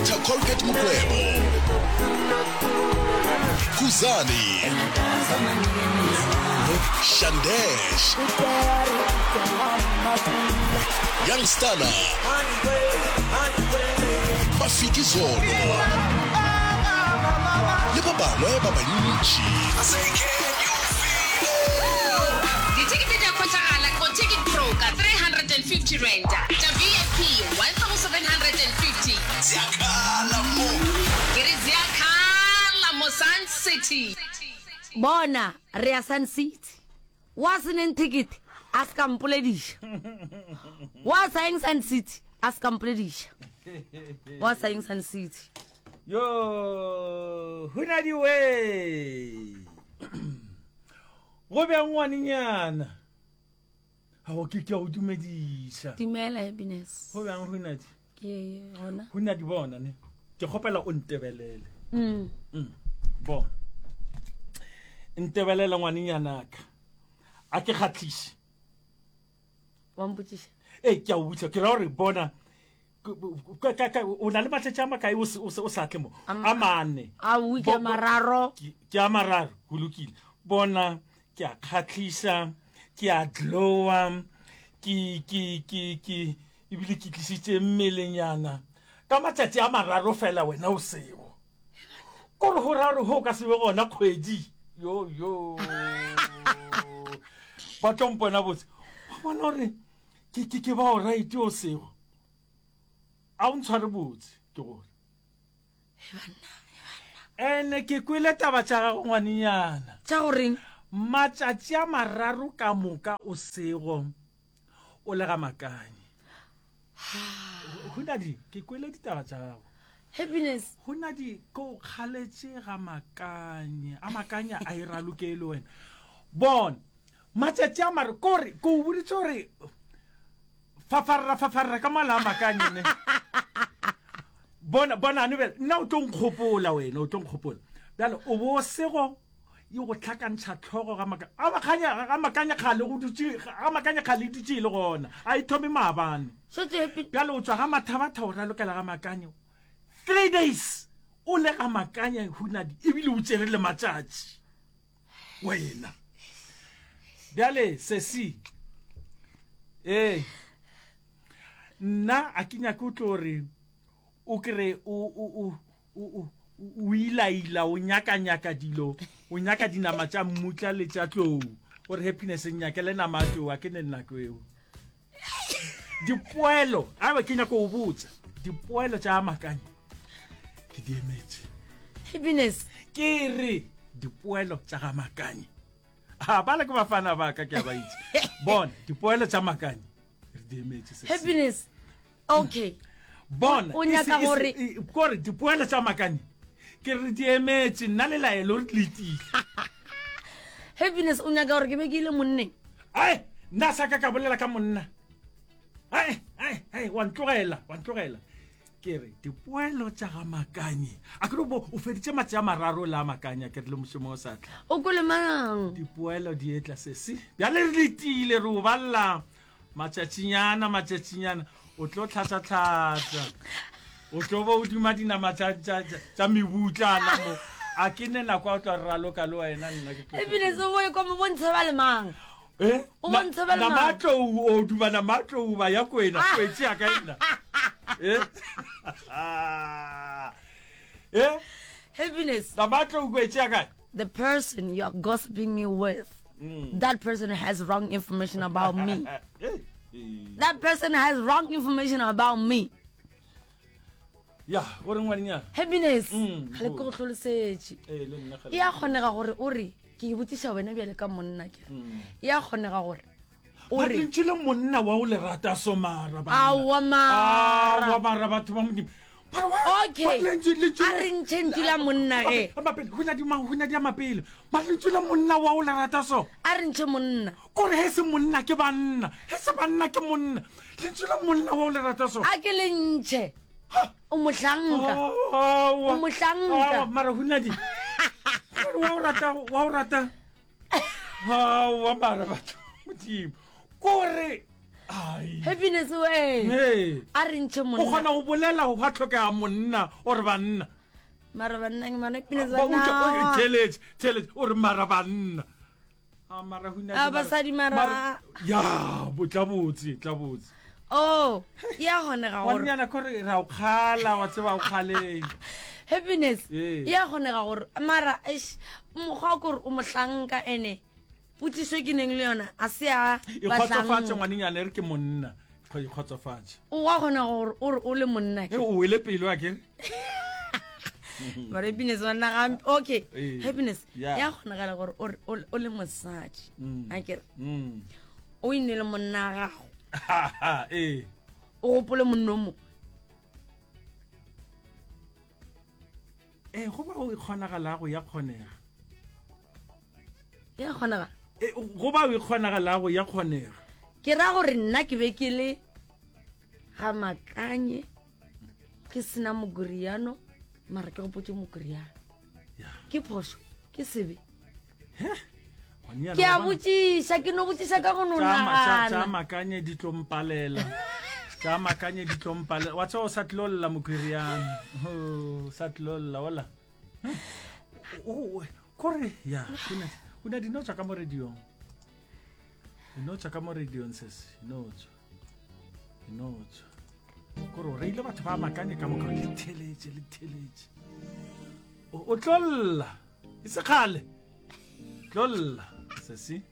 Dr Colgate Mokwebo, Khuzani, Shandesh, Young Stunna, Mafiki Zolo le ba bangwe ba bantši. Dithekete di a hwetšagala go Ticket Pro ka R350, tša VIP R1750. Ziakhala mo. Ke re ziakhala mo Sun City. Bona, re ya Sun City. Wa se neng thekete, a se ka mpolediša. Wa sa yeng Sun City, a se ka mpolediša. Wa sa yeng Sun City. Yo, hunadi we. Go bjang ngwanenyana? Ao ke ke a go dumediša. Dumela Happiness. Go bjang hunadi? Ke gona. Hunadi bona ne. Ke kgopela o ntebelele. Mm. Mm. Bona. Ntebelele ngwanenyanaka. A ke kgatlhiše. Wa mpotšiša? Ee, ke a o botša. Ke ra gore bona o na le matšatši a makae o sa tle mo a mane ke a mararo ke a mararo go lokile bona ke a kgatlhisa ke a glowa ke ke ke ke ebile ke tlisitse mmelenyana ka matšatši a mararo fela wena o seo kore go ra gore go ka se be gona kgwedi yo yo ba tlo mpona botse wa bona gore Ke, ke, ke bao right o sego. A o ntshware botse, ke gore. Ene ke kwele taba tša gago ngwanenyana. Tša goreng? Matšatši a mararo ka moka o sego o le ga Makanye. Hunadi, ke kwele ditaba tša gago. Happiness. Hunadi, ke o kgaletše ga Makanye. A Makanye a e raloke le wena. Bona, Matšatši a mare kore ke o boditše gore fafarra fafarra ka mala a makanye ne. Bona bona ane bjale nna o tlo nkgopola wena o tlo nkgopola. Bjale o bo sego e go tlhakantšha tlhogo ga maka a makanya ga makanya kgale go dutše ga makanya kgale e dutše e le gona a e thome maabane. Bjale o tswa ga mathabatha o ralokela ga makanye 3 days o le ga makanya hunadi ebile o tšere le matšatši. Wena. Bjale sesi. Ee. Nna a ke nyake o tlo re o kre o o o o o ilaila o nyaka nyaka dilo o nyaka dinama tša mmutla le tša tlou o re happiness nyakele nama ya tlou a ke ne nako eo dipoelo a ba ke nyako o botsa dipoelo tša makanya ke di emetše happiness ke re dipoelo tša ga makanye a bala ke bafana ba ka ke a ba itse bona dipoelo tša makanye re di emetše happiness okay bona o nyaka gore kore dipoelo tša makanye ke re di emetše nna le laelo re letile happiness o nyaka gore ke be ke ile monneng Ai, nna sa ka ka bolela ka monna. Ai, ai, ai, wa ntlogela, wa ntlogela. Ke re, dipoelo tša ga Makanye. A ke re bo o feditše matši a mararo le a Makanye, ke re le mošomo o sa tla. O kwele mang? Dipoelo di etla sesi. Bjale re letile, re o balla matšatšinyana, matšatšinyana. O tlo tlhatsa-tlhatsa. O tlo bo o duma dinama tša, tša, tša, tša mebutlana mo. A ke ne nako ya go tla raloka le wena nna ke tlo. Ebile se boe kwa mo bontshe ba le mang. Eh? O bontshe ba le Nama mang. a tlou o duma nama a tlou ba ya kwena kwetše ya ka nna. Eh? Eh? Happiness. Nama a tlou kwetše ya kae? The person you are gossiping me with, that person has wrong information about me. Eh, That person has wrong information about me. Ya, gore ngwanenyana. Happiness. Mm, Ga le ke go hlolosetše. Eh, le nna ga le- E a kgonega gore o re ke e botšiša wena bjale ka monna ke. Mm. E a kgonega gore o Ba re lentšu le monna wa o le rata so mara banna. Aowa mara. Aowa mara batho ba modimo. Mara wa- Okay. wa lentšu- lentšu A le- re ntšhe ntšu la monna ge. A mapele, go na di ma- go na di a mapele. Mara lentšu la monna wa o le rata so. A re ntšhe monna. Kore he se monna ke banna, he se banna ke monna. Lentšu la monna wa o le rata so. A ke le ntšhe. O mohlanka. Aowa. O mohlanka. Aowa, mara hunadi. Mara wa o rata, wa o rata. Aowa mara batho. Modimo. Kore. Happiness we. A re ntšhe monna. O kgona go bolela go gwa tlhokega monna o re banna. Mara banna ke mara happiness banna. Theletše, theletše o re mara banna. A mara huna. A basadi mara. Ya, botla botse, tla botse. Oh, ya kgonega gore. Ngwanyana kore ra o kgala wa tseba o kgaleng. Happiness. Ya kgonega gore mara eish mokgwa kore o mohlanka ene. Potšišo ke neng le yona a se ya ikgotsofatše ngwanenyana e re ke monna ikgotsofatše. O wa kgona gore o re o le monna ke. O wele pelo a ke. Mara happiness banna gampe. Okay. Happiness ya kgonagala gore o re o le mosadi. Mm. A ke re. Mm. O ine le monna gago. Ee. O gopole monna o mongwe. Ee, go ba o ikgonagalago ya kgonega. Ya kgonagala. Ee, go ba o ikgonagalago ya kgonega. Ke ra gore nna ke be ke le ga makanye ke sena mokoriano mara ke gopotse mokoriano ke phošo ke sebe ke a botšiša ke no botšiša ka go no nagana tša makanye di tlo mpalela tša makanye di tlo mpalela wa tseba o sa tlo lla mokhwiriana o sa tlo lla ola kore ya o na dino tswa ka mo radiong dino tswa ka mo radiong sese dino tswa dino tswa kore o reile batho ba makanye ka moka le theletše le theletše o tlo lla e se kgale tlo lla sesi.